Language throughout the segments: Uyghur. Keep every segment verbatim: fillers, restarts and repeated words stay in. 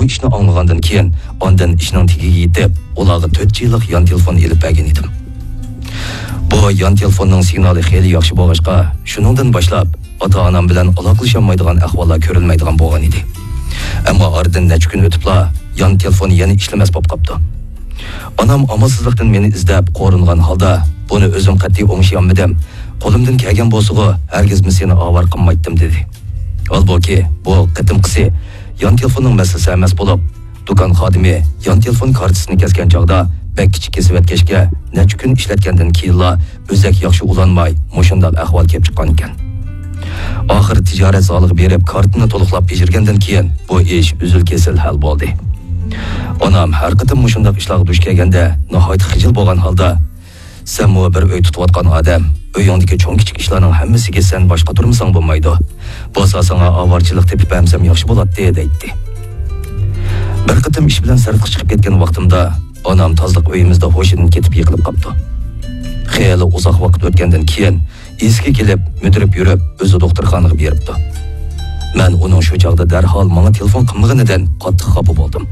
ئىشنى ئاڭلىغاندىن كېيىن، ئاندىن ئىشنىڭ تېگىگە يېتىپ، ئۇلارغا تۆت جى لىق يان تېلېفون ئېلىپ بەرگەن ئىدىم. بۇ يان تېلېفوننىڭ سىگنالى خېلى ياخشى بولغاچقا، شۇنىڭدىن باشلاپ ئاتا-ئانام بىلەن ئالاقىلىشالمايدىغان ئەھۋاللار كۆرۈلمەيدىغان بولغان ئىدى. ئەمما ئارىدىن نەچچە كۈن ئۆتۈپلا يان تېلېفون يەنە ئىشلىمەس بولۇپ قاپتۇ. ئانام ئامالسىزلىقتىن مېنى ئىزدەپ، قورۇنغان ھالدا، بۇنى ئۆزۈم قەتئىي ئوڭشىيالمىدىم. قولۇمدىن كەلگەن بولسىغۇ، ھەرگىزمۇ سېنى ئاۋارە قىلمايتتىم، دېدى. ھالبۇكى، بۇ قېتىمقىسى يان تېلېفوننىڭ مەسىلىسى ئەمەس بولۇپ، دۇكان خادىمى يان تېلېفون كارتىسىنى كەسكەن چاغدا بەك كىچىك كېسىۋەتكەچكە، نەچچە كۈن ئىشلەتكەندىن كېيىنلا ئۆزەك ياخشى ئۇلانماي، مۇشۇنداق ئەھۋال كېلىپ چىققانىكەن. ئاخىر تىجارەت زالىغا بېرىپ، كارتىنى تولۇقلاپ بېجىرگەندىن كېيىن، بۇ ئىش ئۈزۈل-كېسىل ھەل بولدى. ئانام ھەر قېتىم مۇشۇنداق ئىشلارغا دۇچ كەلگەندە، ناھايىتى خىجىل بولغان ھالدا، «سەنمۇ بىر ئۆي تۇتۇۋاتقان ئادەم، ئۆيۈڭدىكى چوڭ-كىچىك ئىشلارنىڭ ھەممىسىگە سەن باش قاتۇرمىساڭ بولمايدۇ. بولسا ساڭا ئاۋارىچىلىق تېپىپ بەرمىسەم ياخشى بولاتتى» دەيتتى. بىر قېتىم ئىش بىلەن سىرتقا چىقىپ كەتكەن ۋاقتىمدا، ئانام تازىلىق ئۆيىمىزدە ھوشىدىن كېتىپ يىقىلىپ قاپتۇ. خېلى ئۇزاق ۋاقىت ئۆتكەندىن كېيىن، ئېسىگە كېلىپ، مۈدۈرۈپ يۈرۈپ، ئۆزى دوختۇرخانىغا بېرىپتۇ. مەن ئۇنىڭ شۇ چاغدا دەرھال ماڭا تېلېفون قىلمىغىنىدىن قاتتىق خاپا بولدۇم.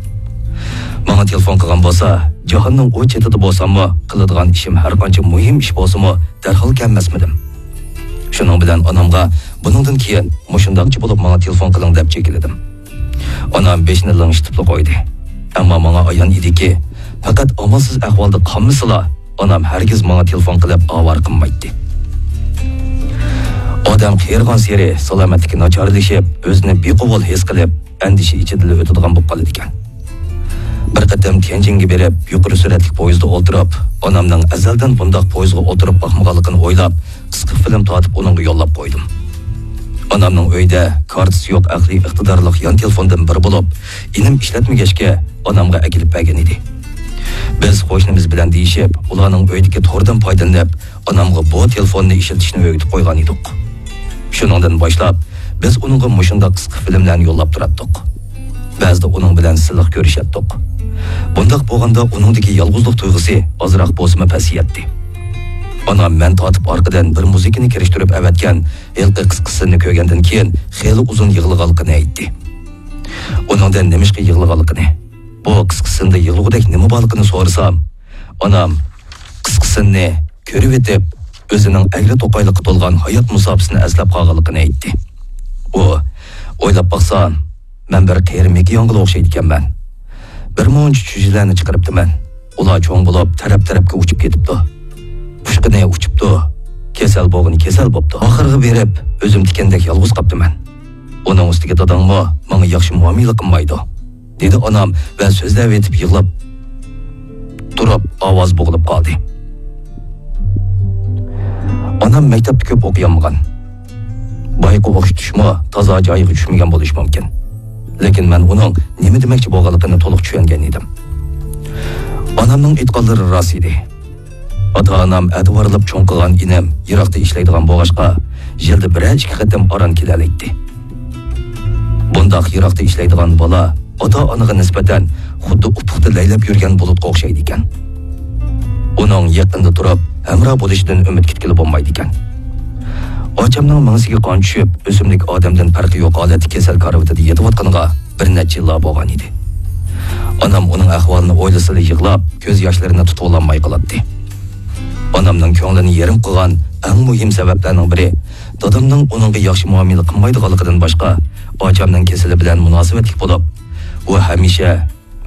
ماڭا تېلېفون قىلغان بولسا، جاھاننىڭ ئۇ چېتىدە بولساممۇ، قىلىدىغان ئىشىم ھەرقانچە مۇھىم ئىش بولسىمۇ، دەرھال كەلمەسمىدىم. شۇنىڭ بىلەن ئانامغا بۇنىڭدىن كېيىن مۇشۇنداقچە بولۇپ ماڭا تېلېفون قىلىڭ دەپ چېكىلدىم. ئانام بېشىنى لىڭشىتىپلا قويدى. ئەمما ماڭا ئايان ئىدىكى، پەقەت ئامالسىز ئەھۋالدا قالمىسىلا، ئانام ھەرگىز ماڭا تېلېفون قىلىپ ئاۋارە قىلمايتتى. ئادەم قېرىغانسېرى سالامەتلىكى ناچارلىشىپ، ئۆزىنى بىقوبۇل ھېس قىلىپ، ئەندىشە ئىچىدىلا ئۆتىدىغان بولۇپ قالىدىكەن. بىر قېتىم تيەنجىنگە بېرىپ، يۇقىرى سۈرئەتلىك پويىزدا ئولتۇرۇپ، ئانامنىڭ ئەزەلدىن بۇنداق پويىزغا ئولتۇرۇپ باقمىغانلىقىنى ئويلاپ، قىسقا فىلىم تارتىپ ئۇنىڭغا يوللاپ قويدۇم. ئانامنىڭ ئۆيىدە كارتىسى يوق ئەقلىي ئىقتىدارلىق يان تېلېفوندىن بىرى بولۇپ، ئىنىم ئىشلەتمىگەچكە، ئانامغا ئەكېلىپ بەرگەن ئىدى. بىز قوشنىمىز بىلەن دېيىشىپ، ئۇلارنىڭ ئۆيىدىكى توردىن پايدىلىنىپ، ئانامغا بۇ تېلېفوننى ئىشلىتىشنى ئۆگىتىپ قويغان ئىدۇق. شۇنىڭدىن باشلاپ، بىز ئۇنىڭغا مۇشۇنداق قىسقا فىلىملەرنى يوللاپ تۇراتتۇق. بەزىدە ئۇنىڭ بىلەن سىلىق كۆرۈشەتتۇق. بۇنداق بولغاندا ئۇنىڭدىكى يالغۇزلۇق تۇيغۇسى ئازراق بولسىمۇ پەسىيەتتى. ئانام مەن تارتىپ ئارقىدىن بىر مۇزىكىنى كىرىشتۈرۈپ ئەۋەتكەن ھېلىقى قىسقا سىننى كۆرگەندىن كېيىن خېلى ئۇزۇن يىغلىغانلىقىنى ئېيتتى. ئۇنىڭدىن نېمىشقا يىغلىغانلىقىنى، بۇ قىسقا سىندا يىغلىغۇدەك نېمە بارلىقىنى سورىسام، ئانام قىسقا سىننى كۆرۈۋېتىپ، ئۆزىنىڭ ئەگرى-توقايلىققا تولغان ھايات مۇساپىسىنى ئەسلەپ قالغانلىقىنى ئېيتتى. ئۇ، ئويلاپ باقسام، مەن بىر قېرى مېكىياڭغىلا ئوخشايدىكەنمەن. بىر مۇنچە چۈجىلەرنى چىقىرىپتىمەن. ئۇلار چوڭ بولۇپ، تەرەپ-تەرەپكە ئۇچۇپ كېتىپتۇ. ئۇچقىنى ئۇچۇپتۇ، كېسەل بولغىنى كېسەل بوپتۇ. ئاخىرىغا بېرىپ، ئۆزۈم تىكەندەك يالغۇز قاپتىمەن. ئۇنىڭ ئۈستىگە داداڭمۇ ماڭا ياخشى مۇئامىلە قىلمايدۇ، دېدى ئانام ۋە سۆزلەۋېتىپ يىغلاپ تۇرۇپ ئاۋاز بوغۇلۇپ قالدى. ئانام مەكتەپتە كۆپ ئوقۇيالمىغان. بايىقى ئوخشىتىشمۇ تازا جايىغا چۈشمىگەن بولۇشى مۇمكىن. لېكىن مەن ئۇنىڭ نېمە دېمەكچى بولغانلىقىنى تولۇق چۈشەنگەن ئىدىم. ئانامنىڭ ئېيتقانلىرى راست ئىدى. ئاتا-ئانام ئەتىۋارلاپ چوڭ قىلغان ئىنىم يىراقتا ئىشلەيدىغان بولغاچقا، يىلدا بىرەر ئىككى قېتىم ئاران كېلەلەيتتى. بۇنداق يىراقتا ئىشلەيدىغان بالا ئاتا-ئانىغا نىسبەتەن خۇددى ئۇپۇقتا لەيلەپ يۈرگەن بۇلۇتقا ئوخشايدىكەن. ئۇنىڭ يېقىندا تۇرۇپ ھەمراھ بولۇشىدىن ئۈمىد كۈتكىلى بولمايدىكەن. ئاچامنىڭ مېڭىسىگە قان چۈشۈپ، ئۆسۈملۈك ئادەمدىن پەرقى يوق ھالەتتە كېسەل كارىۋىتىدە يېتىۋاتقىنىغا بىر نەچچە يىللار بولغان ئىدى. ئانام ئۇنىڭ ئەھۋالىنى ئويلىسىلا يىغلاپ، كۆز ياشلىرىنى تۇتۇۋالالماي قالاتتى. ئانامنىڭ كۆڭلىنى يېرىم قىلغان ئەڭ مۇھىم سەۋەبلەرنىڭ بىرى، دادامنىڭ ئۇنىڭغا ياخشى مۇئامىلە قىلمايدىغانلىقىدىن باشقا، ئاچامنىڭ كېسىلى بىلەن مۇناسىۋەتلىك بولۇپ، ئۇ ھەمىشە،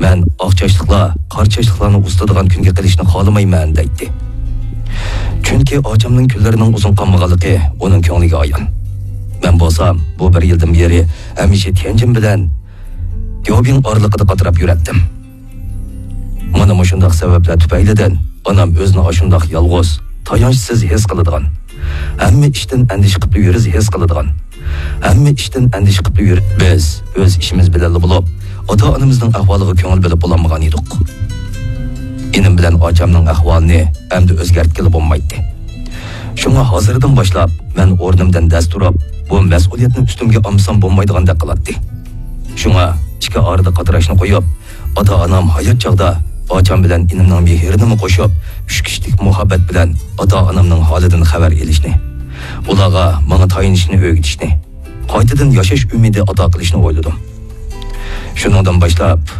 «مەن ئاق چاچلىقلار، قارا چاچلىقلارنى ئۇزىتىدىغان كۈنگە قېلىشنى خالىمايمەن» دەيتتى. چۈنكى ئاچامنىڭ كۈنلىرىنىڭ ئۇزۇن قالمىغانلىقى ئۇنىڭ كۆڭلىگە ئايان. مەن بولسام، بۇ بىر يىلدىن بېرى ھەمىشە تيەنجىن بىلەن دياۋبىڭ ئارىلىقىدا قاتراپ يۈرەتتىم. مانا مۇشۇنداق سەۋەبلەر تۈپەيلىدىن ئانام ئۆزىنى ئاشۇنداق يالغۇز، تايانچسىز ھېس قىلىدىغان، ھەممە ئىشتىن ئەندىشە قىپلا يۈرۈز ھېس قىلىدىغان، ھەممە ئىشتىن ئەندىشە قىپلا يۈر-، بىز ئۆز ئىشىمىز بىلەنلا بولۇپ، ئاتا-ئانىمىزنىڭ ئەھۋالىغا كۆڭۈل بۆلۈپ بولالمىغان ئىدۇق. ئىنىم بىلەن ئاچامنىڭ ئەھۋالىنى ئەمدى ئۆزگەرتكىلى بولمايتتى. شۇڭا ھازىردىن باشلاپ مەن ئورنۇمدىن دەس تۇرۇپ، بۇ مەسئۇلىيەتنى ئۈستۈمگە ئالمىسام بولمايدىغاندەك قىلاتتى. شۇڭا ئىككى ئارىدا قاتراشنى قويۇپ، ئاتا-ئانام ھايات چاغدا ئاچام بىلەن ئىنىمنىڭ مېھرىنىمۇ قوشۇپ، ئۈچ كىشىلىك مۇھەببەت بىلەن ئاتا-ئانامنىڭ ھالىدىن خەۋەر ئېلىشنى، ئۇلارغا ماڭا تايىنىشنى ئۆگىتىشنى، قايتىدىن ياشاش ئۈمىدى ئاتا قىلىشنى ئويلىدىم. شۇنىڭدىن باشلاپ،